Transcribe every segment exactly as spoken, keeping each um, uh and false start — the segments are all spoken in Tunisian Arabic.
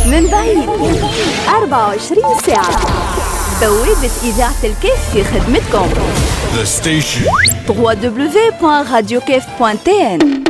من بعيد أربعة وعشرين ساعة بوابة إذاعة الكاف في خدمتكم. The station. دبليو دبليو دبليو دوت راديو كاف دوت تي إن.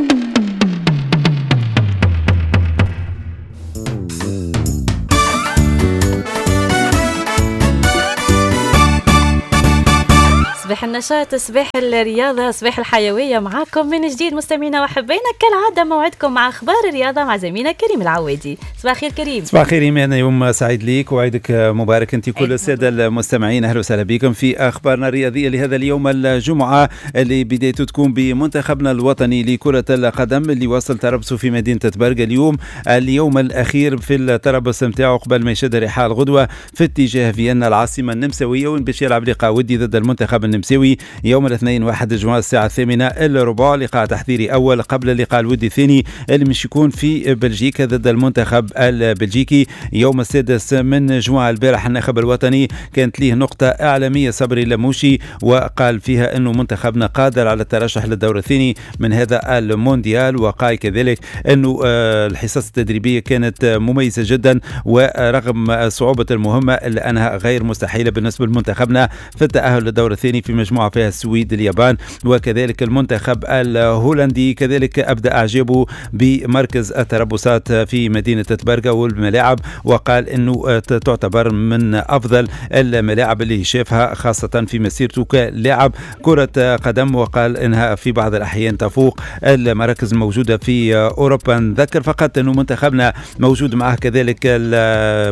صباح النشاط، صباح الرياضة، صباح الحيوية، معاكم من جديد مستمعينا وحبينا كالعادة موعدكم مع أخبار الرياضة مع زميلنا كريم العوادي. صباح الخير كريم. صباح الخير إيمان، يوم سعيد ليك وعيدك مبارك أنت كل السادة المستمعين. أهلا وسهلا بكم في أخبارنا الرياضية لهذا اليوم الجمعة اللي بدايته تكون بمنتخبنا الوطني لكرة القدم اللي وصل تربصه في مدينة تبرقة اليوم، اليوم الأخير في التربص نتاعو قبل ما يشد رحال غدوة في اتجاه فيينا العاصمة النمساوية، وين باش يلعب لقاء ودي ضد المنتخب النمساوي يوم الاثنين واحد جوان الساعة الثامنة إلا ربع، لقاء تحضيري أول قبل اللقاء الودي الثاني اللي مش يكون في بلجيكا ضد المنتخب البلجيكي يوم السادس من جوان. البارح الناخب الوطني كانت ليه نقطة إعلامية صبري لموشي وقال فيها أنه منتخبنا قادر على الترشح للدور الثاني من هذا المونديال، وقال كذلك أنه الحصص التدريبية كانت مميزة جدا ورغم صعوبة المهمة إلا أنها غير مستحيلة بالنسبة لمنتخبنا في التأهل للدور الثاني في مجموعة فيها السويد، اليابان وكذلك المنتخب الهولندي. كذلك أبدأ أعجابه بمركز التربصات في مدينة تبرقة والملاعب، وقال أنه تعتبر من أفضل الملاعب اللي شافها خاصة في مسيرته كلاعب كرة قدم، وقال أنها في بعض الأحيان تفوق المراكز الموجودة في أوروبا. نذكر فقط أنه منتخبنا موجود معه كذلك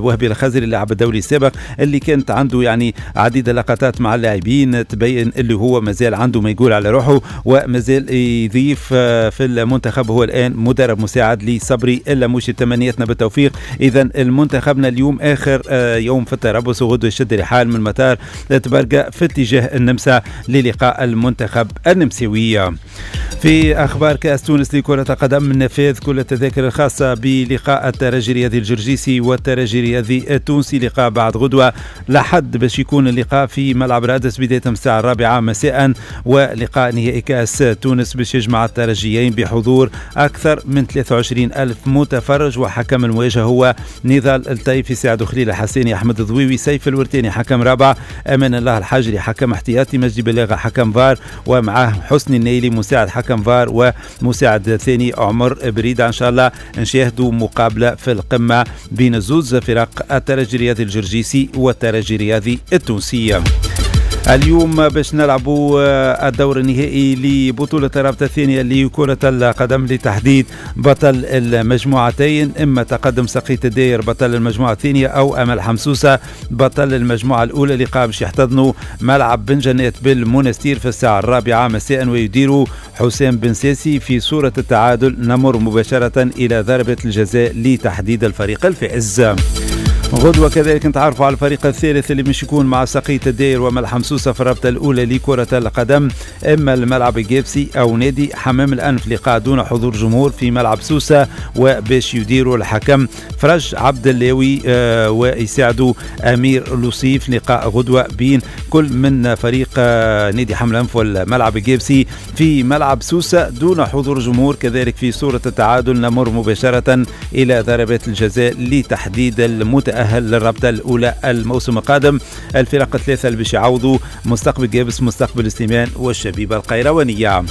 وهبي الخزري اللاعب الدولي السابق اللي كانت عنده يعني عديد اللقطات مع اللاعبين تبين اللي هو مازال عنده ما يقول على روحه ومازال يضيف في المنتخب. هو الآن مدرب مساعد لصبري اللموشي. تمنياتنا بالتوفيق. إذا المنتخبنا اليوم آخر يوم في التربص، وغدو يشد رحال من مطار تبرقة في اتجاه النمسا للقاء المنتخب النمساوي. في أخبار كأس تونس لكرة القدم، نفاذ كل التذاكر الخاصة بلقاء الترجي الرياضي الجرجيسي والترجي الرياضي التونسي، لقاء بعد غدوة لحد باش يكون اللقاء في ملعب رادس بداية الساعة الرابعة مساء، ولقاء نهائي كأس تونس باش يجمع الترجيين بحضور أكثر من ثلاثة وعشرين ألف متفرج، وحكم المواجهة هو نضال الطيفي، سعد خليل الحسيني، أحمد الضويوي، سيف الورتاني حكم رابع، أمان الله الحجري حكم احتياطي، مجدي بلاغة حكم فار، ومعه حسني النيلي مساعد حكم فار، ومساعد ثاني عمر بريدة. إن شاء الله نشاهدوا مقابلة في القمة بين زوز فرق الترجي الرياضي الجرجيسي والترجي الرياضي التونسي. اليوم باش نلعبوا الدور النهائي لبطولة الرابطة الثانية لكرة القدم لتحديد بطل المجموعتين، إما تقدم سقية الداير بطل المجموعة الثانية أو أمل حمسوسة بطل المجموعة الأولى. لقاء باش يحتضنوا ملعب بن جنات بالمونستير في الساعة الرابعة مساء ويديروا حسام بن ساسي. في صورة التعادل نمر مباشرة إلى ضربة الجزاء لتحديد الفريق الفائز. غدوة كذلك نتعرفوا على الفريق الثالث اللي مش يكون مع سقية الداير وملعب حمسوسة في الرابطة الأولى لكرة القدم، إما الملعب الجابسي أو نادي حمام الأنف، لقاء دون حضور جمهور في ملعب سوسة، وباش يديروا الحكم فرج عبد اللاوي آه ويساعدوا أمير لوصيف. لقاء غدوة بين كل من فريق آه نادي حمام الأنف والملعب الجابسي في ملعب سوسة دون حضور جمهور. كذلك في صورة التعادل نمر مباشرة إلى ضربات الجزاء لتحديد المتأهل للرابطة الأولى الموسم القادم. الفرق الثلاثة اللي باش يعوضوا مستقبل جابس، مستقبل سليمان، والشبيبة القيروانية.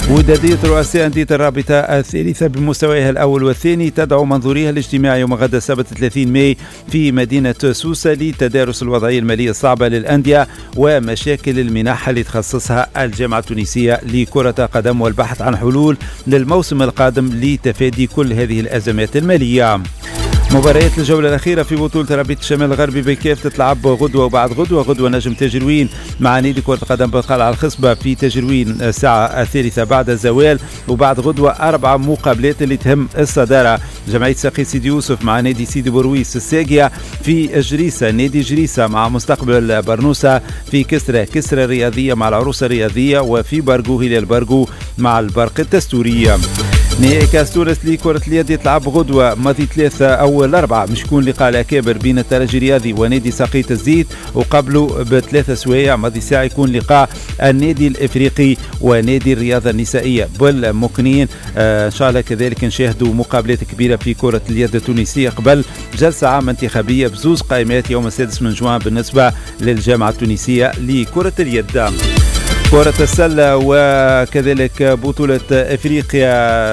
ودادية رؤساء أندية الرابطة الثالثة بمستويها الأول والثاني تدعو منظوريها الاجتماع يوم غد السبت ثلاثين ماي في مدينة سوسة لتدارس الوضعية المالية الصعبة للأندية ومشاكل المنح اللي تخصصها الجامعة التونسية لكرة القدم، والبحث عن حلول للموسم القادم لتفادي كل هذه الأزمات المالية. مباريات الجولة الأخيرة في بطولة رابطة الشمال الغربي بالكاف تتلعب غدوة وبعد غدوة. غدوة نجم تاجروين مع نادي كرة القدم بالقلعة الخصبة في تاجروين الساعة الثالثة بعد الزوال، وبعد غدوة أربع مقابلات اللي تهم الصدارة: جمعية ساقي سيدي يوسف مع نادي سيدي برويس الساقية في جريسة، نادي جريسة مع مستقبل برنوسة في كسرة، كسرة الرياضية مع العروسة الرياضية، وفي برقو هلال برقو مع البرق التستورية. نهائي كاس تونس لكرة اليد يتلعب غدوة ماضي ثلاثة أو الأربعة، مش يكون لقاء الأكابر بين الترجي الرياضي ونادي ساقية الزيت، وقبله بثلاثة سوايع ماضي ساعة يكون لقاء النادي الإفريقي ونادي الرياضة النسائية بالمقنين. آه إن شاء الله كذلك نشاهدوا مقابلات كبيرة في كرة اليد التونسية قبل جلسة عامة انتخابية بزوز قائمات يوم السادس من جوان بالنسبة للجامعة التونسية لكرة اليد. كرة السلة وكذلك بطولة افريقيا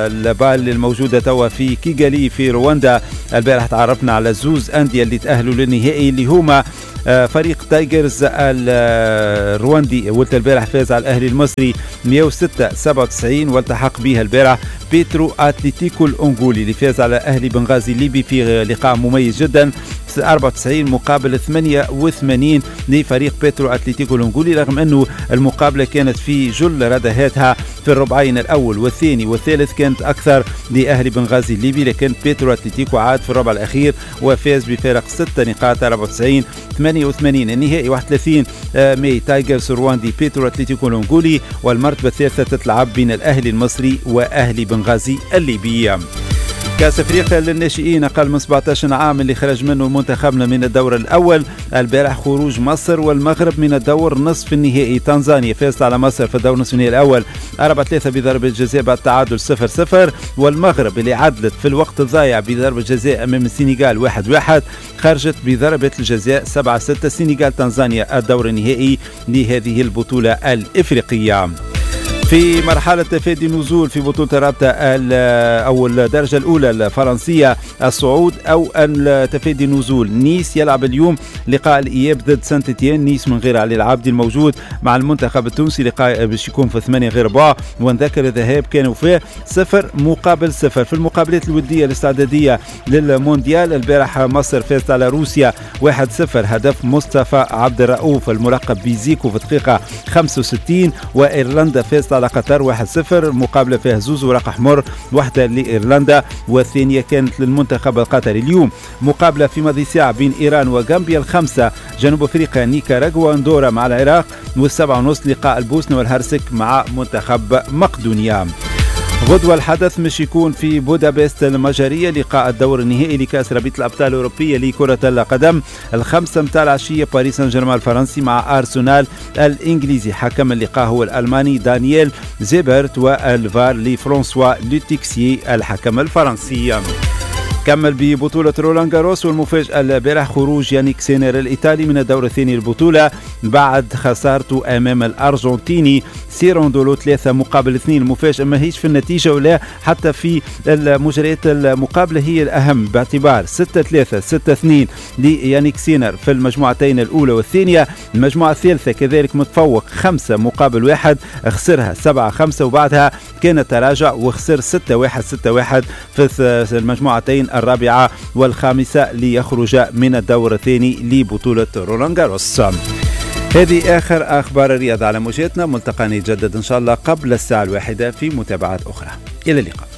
البال الموجودة توا في كيغالي في رواندا، البارح تعرفنا على زوز أندية اللي تأهلوا للنهائي اللي هما فريق تايجرز الرواندي، ولت البارح فاز على الأهلي المصري مئة وستة سبعة وتسعين، والتحق بها البارح بيترو أتليتيكو الأنغولي اللي فاز على أهلي بنغازي الليبي في لقاء مميز جدا أربعة وتسعين مقابل ثمانية وثمانين لفريق بيترو أتليتيكو الأنغولي، رغم أنه المقابلة كانت في جل ردهاتها في الربعين الأول والثاني والثالث كانت أكثر لأهلي بنغازي الليبي، لكن بيترو أتليتيكو عاد في الربع الأخير وفاز بفارق ستة نقاط أربعة وتسعين ثمانية وثمانين. النهائي واحد وثلاثين ماي تايجرز رواندي بيترو أتليتيكو الأنغولي، والمرتبة الثالثة تتلعب بين الأهلي المصري وأهلي بنغازي الليبي. كأس افريقيا للناشئين اقل من سبعة عشر عام اللي خرج منه منتخبنا من الدور الاول البارح، خروج مصر والمغرب من الدور نصف النهائي. تنزانيا فازت على مصر في الدور نصف النهائي الاول أربعة ثلاثة بضربة جزاء بعد تعادل صفر صفر، والمغرب اللي عدلت في الوقت الضايع بضربة جزاء امام السنغال واحد واحد خرجت بضربة الجزاء سبعة ستة. السنغال تنزانيا الدور النهائي لهذه البطولة الافريقية. في مرحلة تفادي النزول في بطولة الرابطة أو الدرجة الأولى الفرنسية، الصعود أو تفادي النزول، نيس يلعب اليوم لقاء الإياب ضد سانت إتيان. نيس من غير علي العابدي الموجود مع المنتخب التونسي، لقاء باش يكون في ثمانية غير ربع، ونذكر الذهاب كانوا فيه صفر مقابل صفر. في المقابلات الودية الاستعدادية للمونديال البارح مصر فازت على روسيا واحد صفر، هدف مصطفى عبد الرؤوف الملقب بزيكو في دقيقة خمسة وستين، وإيرلندا فازت على قطر واحد صفر، مقابلة فيها زوز ورق أحمر، واحدة لإيرلندا والثانية كانت للمنتخب القطري. اليوم مقابلة في ماضي ساعة بين إيران وغامبيا، الخمسة جنوب أفريقيا نيكاراغوا أندورا مع العراق، والسبعة ونص لقاء البوسنة والهرسك مع منتخب مقدونيا. غدوة الحدث مش يكون في بودابست المجرية لقاء الدور النهائي لكأس رابطة الأبطال الأوروبية لكرة القدم، الخمسة متاع العشية باريس سان جيرمان الفرنسي مع أرسنال الإنجليزي. حكم اللقاء هو الألماني دانييل زيبرت، والفار لفرانسوا لوتيكسي الحكم الفرنسي. كمل ببطولة رولان جاروس، والمفاجأة البارح خروج يانيك سينر الإيطالي من الدور الثاني للبطولة بعد خسارته أمام الأرجنتيني سيروندولو ثلاثة مقابل اثنين. المفاجأة ما هيش في النتيجة ولا حتى في المجريات المقابلة، هي الأهم باعتبار ستة ثلاثة ستة اثنين ليانيك سينر في المجموعتين الأولى والثانية. المجموعة الثالثة كذلك متفوق خمسة مقابل واحد، خسرها سبعة خمسة وبعدها كان تراجع وخسر ستة واحد ستة واحد في المجموعتين الرابعة والخامسة ليخرج من الدور الثاني لبطولة رولان جاروس. هذه آخر أخبار الرياضة على موجاتنا، ملتقانا يتجدد إن شاء الله قبل الساعة الواحدة في متابعات أخرى. إلى اللقاء.